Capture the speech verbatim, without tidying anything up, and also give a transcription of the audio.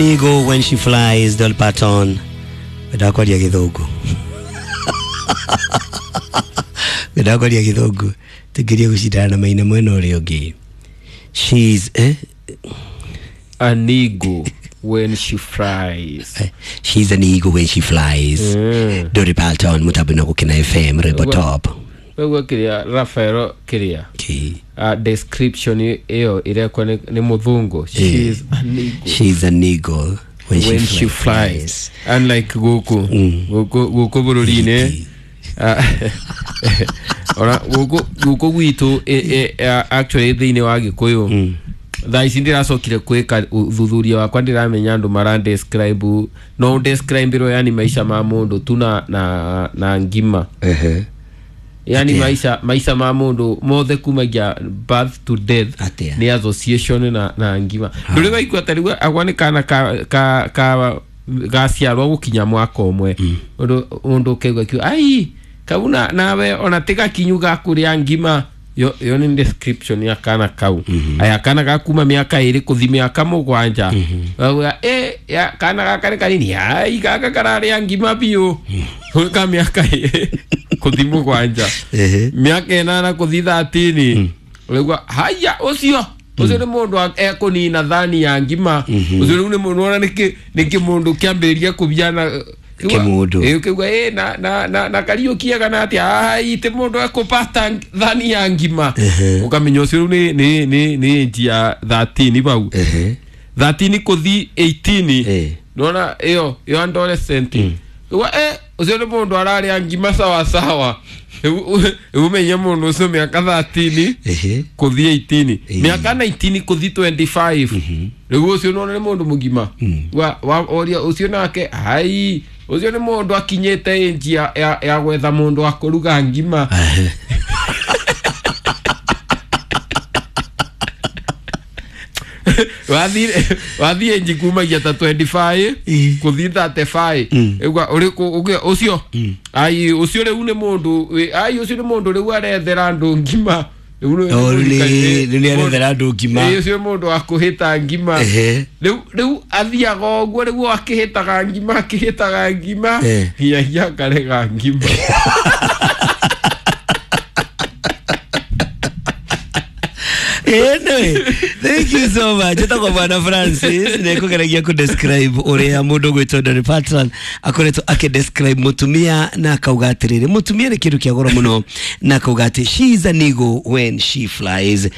Eagle when she flies, Dolly Parton. Ndakwaria githungu. Ndakwaria githungu. Tugirie gucindana na maina mwena uria ungi. She's eh? An eagle when she flies. She's an eagle when she flies. Mm. Dolly Parton mutabino gukina F M Rebo Top. Wewe kiria Rafael kiria. Ki. Uh, description iyo irekwa ni, ni muthungu. She is an eagle. She's an eagle when, when she, she flies. Unlike guku. Mm. Guku guku bururi-ini. Uh, ora guku guku gwitu e, e, actually thiini wa Gikuyu. Mm. Thaa ici ndiracokire kwika uthuthuria wakwa ndiramenya andu mara describe no describe ro yani maisha ma mundu tu na na, na ngima. Ehe. Yani Atia. maisha maisha ma mundu mothe kumagia birth to death. Atia. Ni association na na ngima. Nduri waigua tariu agwa ni kana ka ka ka gaciarwo gukinya mwaka umwe. Undu undu ukaigua kiu ai kauna nawe ona tiga kinyu gakuria ngima. Yo yo ni description ya kana kau. Mm -hmm. Aya kana gakuma miaka iri kuthi miaka mugwanja. Mm -hmm. Eh ya kana gaka ni kanini ai gaka kararia ngima biu. Mm -hmm. Ka miaka kuthi mugwanja. Miaka inana kuthi thirteen. Mm. Uregwa haya ucio ucio ni mundu ekunina thani ya ngima. Mm -hmm. Ucio ni mundu ona niki niki mundu kiambiriria kubiana kimundu. Eh ukigwa eh na na na, na Kariuki kana atia ai te mundu ekupata thani ya ngima. Ukamenya ucio ni ni ni ni njia thirteen bau. thirteen kuthi eighteen. Eh. Nona iyo iyo adolescent. Wa eh ucio ni mundu araria ngima sawa sawa. Umenye mundu ucio miaka thirteen kuthi eighteen. Miaka nineteen kuthi twenty-five. Riu ucio nona ni mundu mugima. Wa wa oria ucio nake ai ucio ni mundu akinyite njia ya, ya gwetha mundu akuruga ngima. Wathi wathi nji kumagia ta twenty-five kuthi thirty-five. Igwa uriku ucio ai ucio riu ni mundu ai ucio ni mundu riu arethera andu ngima. Ni ni arethera andu ngima. Eh ucio mundu akuhita ngima. Riu riu athiaga uguo riu akihitaga ngima akihitaga ngima nginyagia akarega ngima. Anyway, thank you so much. Etagwo Bwana Francis nekugeragia ku describe uria mundu gwitwo Dolly Parton akoretwo aki describe mutumia na akauga atiriri mutumia ni kindu kia goro muno na akauga ati she is an eagle when she flies.